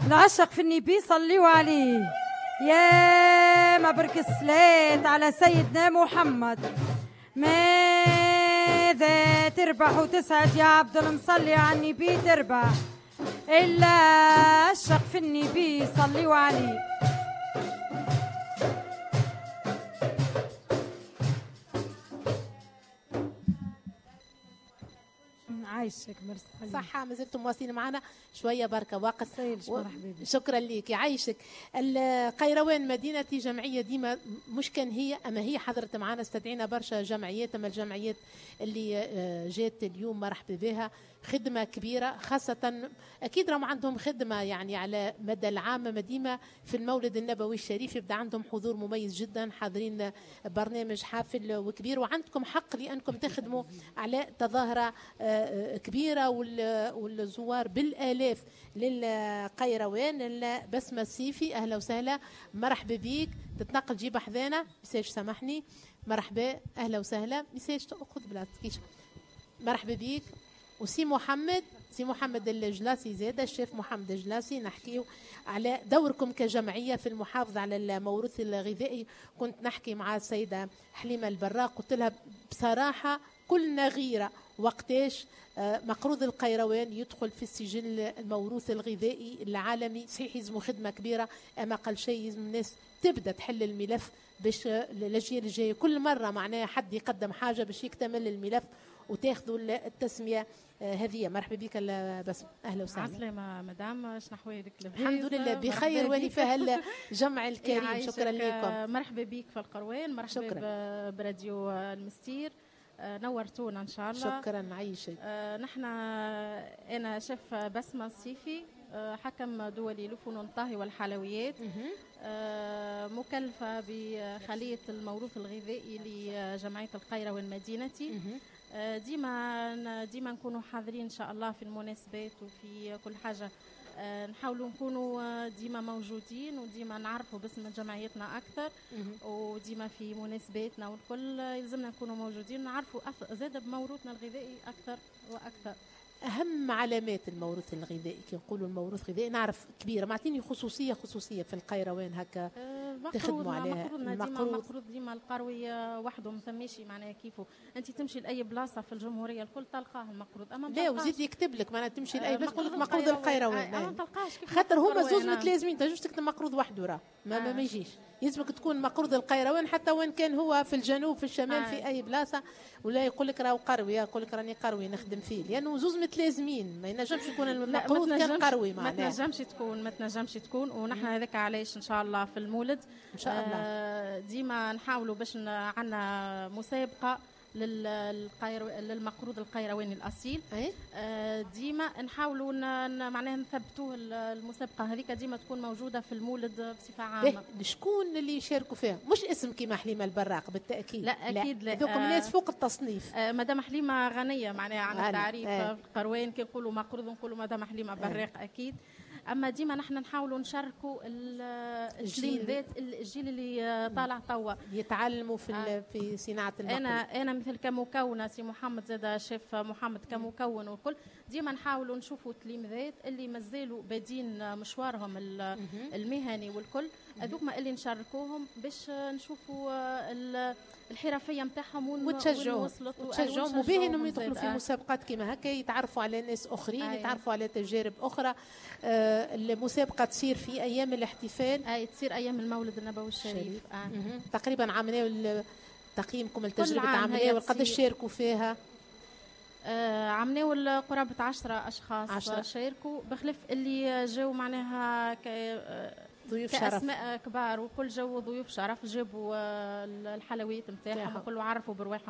العشق في النبي صليوا عليه. يا مبرك الصلاة على سيدنا محمد. ماذا تربح وتسعد يا عبد المصلي على النبي تربح، إلا عشق في النبي صليوا عليه. عايشك مرسي. صحة، مازلتم مواصلين معنا شوية بركة وقت. شكرا ليك يعيشك. القيروان مدينتي جمعية ديما مش كان هي، أما هي حضرت معنا، استدعينا برشا جمعيات، أما الجمعيات اللي جات اليوم مرحبا بها، خدمة كبيرة، خاصة أكيد راهم عندهم خدمة يعني على مدى العام، ديما في المولد النبوي الشريف يبدأ عندهم حضور مميز جدا، حاضرين برنامج حافل وكبير، وعندكم حق لأنكم تخدموا على تظاهرة كبيرة والزوار بالآلاف للقيروان. بسمة السيفي أهلا وسهلا، مرحبا بيك، تتنقل جيب حذانا مساج سامحني، مرحبا أهلا وسهلا، مساج تأخذ بلاصتك، مرحبا بيك. وسي محمد، سي محمد الجلاسي زاده، الشيف محمد الجلاسي، نحكيو على دوركم كجمعية في المحافظة على الموروث الغذائي. كنت نحكي مع السيدة حليمة البراق، قلت لها بصراحة كلنا غيره وقتاش مقروض القيروان يدخل في السجل الموروث الغذائي العالمي. صحيح يلزموا خدمة كبيرة، اما اقل شيء يلزم الناس تبدا تحل الملف باش الاجيال الجاية كل مرة معناها حد يقدم حاجة باش يكتمل الملف وتاخذوا التسمية هذه. مرحبا بك بسمة، اهلا وسهلا. عسلامة مدام، شنو احوالك؟ لاباس؟ الحمد لله بخير ولفه الجمع الكريم. شكرا لكم. مرحبا بك في القروان، مرحبا براديو المستير، نورتونا ان شاء الله. شكرا عايشك. نحن انا شيف بسمة السيفي، حكم دولي لفنون الطهي والحلويات، مكلفة بخلية الموروث الغذائي لجمعية القيروان مدينتي. ديما نكونوا حاضرين ان شاء الله في المناسبات وفي كل حاجة، نحاولوا نكونوا ديما موجودين وديما نعرفوا باسم جمعيتنا اكثر، وديما في مناسباتنا والكل يلزمنا نكونوا موجودين، نعرفوا زاد بموروثنا الغذائي اكثر واكثر. اهم علامات الموروث الغذائي، كي نقولوا الموروث الغذائي نعرف كبيرة، معطيني خصوصية في القيروان هكا تخدموا عليها. المقروض ديما القروي وحده ما ثماش معناها كيفه، انت تمشي لاي بلاصة في الجمهورية الكل تلقاه المقروض، اما لا وزيد يكتب لك معناها تمشي لاي بلاصة يقول لك مقروض القيروان، ما تلقاهش كيف، خاطر هما زوز متلازمين، تنجمش تكتب مقروض وحده راه ما يجيش، يلزمك تكون مقروض القيروان حتى وين كان هو في الجنوب في الشمال في اي بلاصة، ولا يقول لك راهو قروي، يقول لك راني قروي نخدم فيه، لانه زوز متلازمين، ما ينجمش يكون المقروض كان قروي معناها. ما تنجمش تكون، ونحن هذاك علاش ان شاء الله في المولد ان شاء الله ديما نحاولوا باش عندنا مسابقة للمقروض القيرواني الاصيل. ديما نحاولوا معناها نثبتوه المسابقة هذيك ديما تكون موجودة في المولد بصفة عامة. شكون اللي يشاركوا فيها؟ مش اسم كيما حليمة البراق بالتاكيد. لا اكيد لا، ذوك الناس فوق التصنيف. مدام حليمة غنية معناها عن التعريف في القروان، كي نقولوا مقروض نقولوا مدام حليمة براق اكيد. اما ديما نحن نحاولوا نشاركوا الجيل ذات الجيل اللي طالع توا يتعلموا في صناعة المقروض. انا مثل كمكونه، سي محمد زاد شيف محمد كمكون والكل، ديما نحاولوا نشوفوا التلاميذات اللي مازالوا بادين مشوارهم المهني والكل، هذوك ما اللي نشاركوهم باش نشوفوا الحرفية نتاعهم وتشجعوهم، وبه انهم يدخلوا في مسابقات كيما هكا، يتعرفوا على ناس اخرين، يتعرفوا على تجارب اخرى. المسابقة تصير في ايام الاحتفال، اي تصير ايام المولد النبوي الشريف. تقريبا عملنا تقييمكم التجربة عملناها وقداش شاركوا فيها؟ عملناو قرابة 10 اشخاص شاركوا، بخلاف اللي جاوا معناها ضيوف شرف، كأسماء كبار وكل جو ضيوف شرف، جابوا الحلويات نتاعهم وكل عرفوا برواحهم